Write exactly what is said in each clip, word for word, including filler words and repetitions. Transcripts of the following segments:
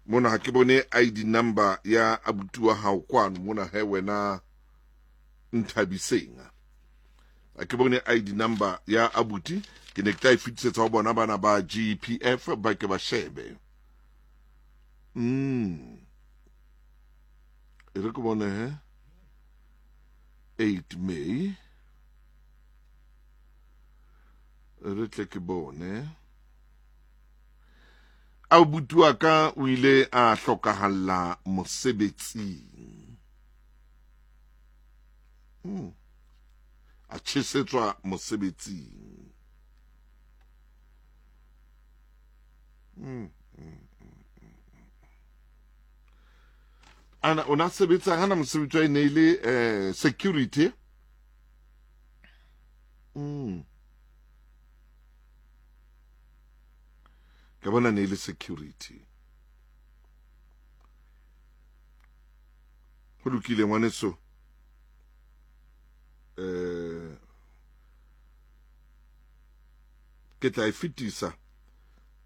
Mona ha ke bone I D number ya abuti wa hao kwano mona he wena Nthabiseng. Ha ke bone I D number ya abuti, ke ne ke tla e fetisetsa ho bona bana ba G P F ba ke ba shebe. Mm. E re ke bone he eight May. Re tle ke bone. Abuti wa ka o ile a hlokahalla mosebetsing. Mm. A tjhesetswa mosebetsing. Mm. Ana ona sebetsa hana mosebetsi wa e ne le eh security. Mm. Ke bona ne le security. Ho lokile ngwaneso. Eh ke tla e fetisa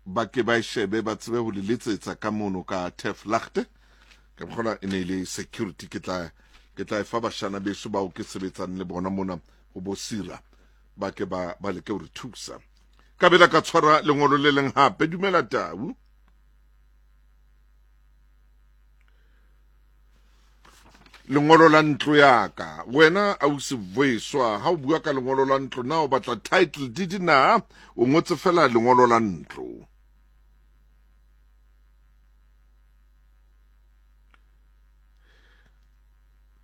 ba ke ba shebe ba tsebe ho le letsetsa ka mono ka Teflagte. Ke bona e ne le security, ke tla ke tla e fa bashana beso bao ke sebetsang le bona mona ho bo Sira ba ke ba ba leke ho re thusa. Ka bela ka tshwara lengolo le leng hape. Dumela Tau. Lengolo la ntlo ya ka wena ausi Voiswa, ha o bua ka lengolo la ntlo na o batla title deed na o ngotse fela lengolo la ntlo?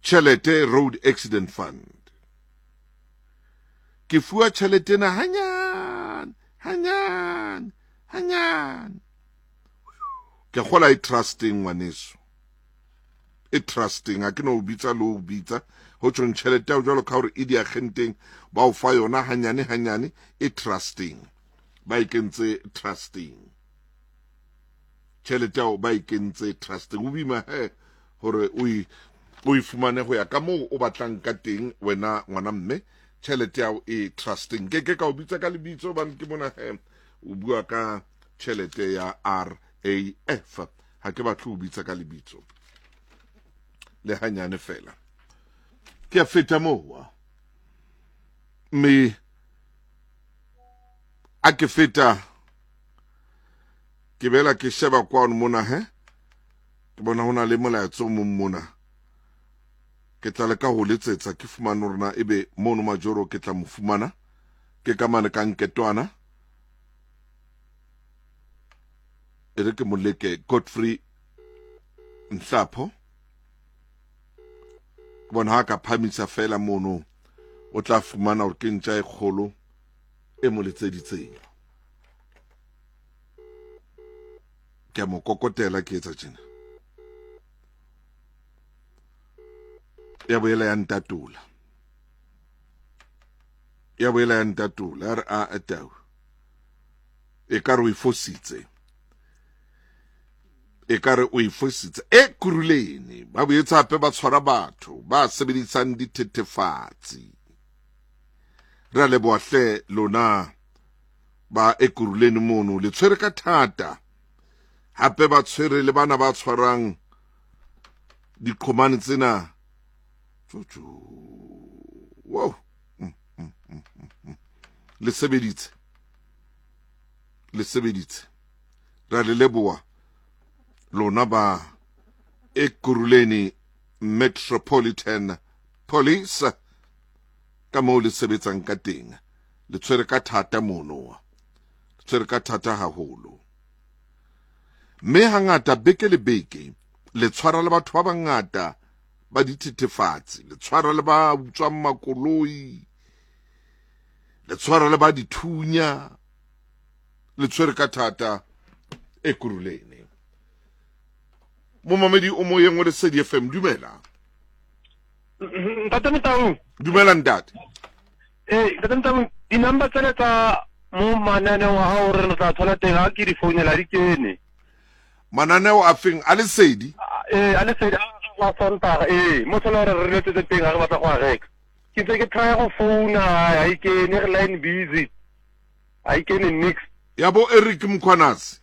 Tjhelete Road Accident Fund. Ke fuwa tjhelete na hanyane hanyane hanyane. Ke kgola e trusting ngwaneso. E trusting ha ke no bitsa lo bitsa ho tjhong tjhelete ya jwalo ka hore e diagenteng ba o fa yona hanyane hanyane, e trusting. Ba e kentse trusting. Tjhelete ya ba e kentse trusting. O bima he hore o e o e fumane ho ya ka moo o batlang ka teng wena ngwana mme. Tjhelete ya e trusting. Ke ke ka o bitsa ka lebitso hobane ke bona he o bua ka tjhelete ya R A F. Ha ke batle ho bitsa ka lebitso le hanyane fela. Ke a feta moo mme a ke feta ke bela ke sheba kwano mona he ke bona hona le molaetso o mong mona. Ke tla leka ho letsetsa ke fumane hore na ebe mono Majoro ke tla mo fumana ke ka mane ka nketwana. E re ke mo leke Godfrey Nhlapho. Ke bona ha ka phamisa fela mono o tla fumana hore ke ntja e kgolo e mo letseditseng. Ke mo kokotela ke etsa tjena. Ya boela ya ntatola. Ya boela ya ntatola. A re a tau. E ka re o e fositse. E ka re o e fositse. E Kuruleni ba boetse hape ba tshwara batho ba sebedisang dithethefatsi. Re a leboha hle lona ba Ekurhuleni mono le tshwere ka thata. Hape ba tshwere le bana ba tshwarang diqhomane tsena. Tjotjo. Wow. Mm, mm, mm, mm. Le sebeditse. Le sebeditse. Ra le leboha lona ba Ekurhuleni Metropolitan Police ka moo le sebetsang ka teng. Le tshwere ka thata mono. Le tshwere ka thata haholo. Mme hangata beke le beke le tshwara le batho ba bangata ba dithethefatsi, le tshwara le ba utswang makoloi, le tshwara le ba dithunya, le tshwere ka thata Ekurhuleni. Momamedi o moyeng wa Lesedi F M, dumela. Ntate Motau. Dumela ntate. Eh, ntate Motau, di-number tsena tsa mo mananeong a hao re tla thola teng ha ke di founela di kene. Mananeo a feng a Lesedi? Eh, a Lesedi a Sontaga, eh, mo thola hore re letsetse teng ha re batla go a reka. Ke ntse ke try go founa ha e kene, re line busy. Ha e kene nix. Ya bo Eric Mkhwanazi.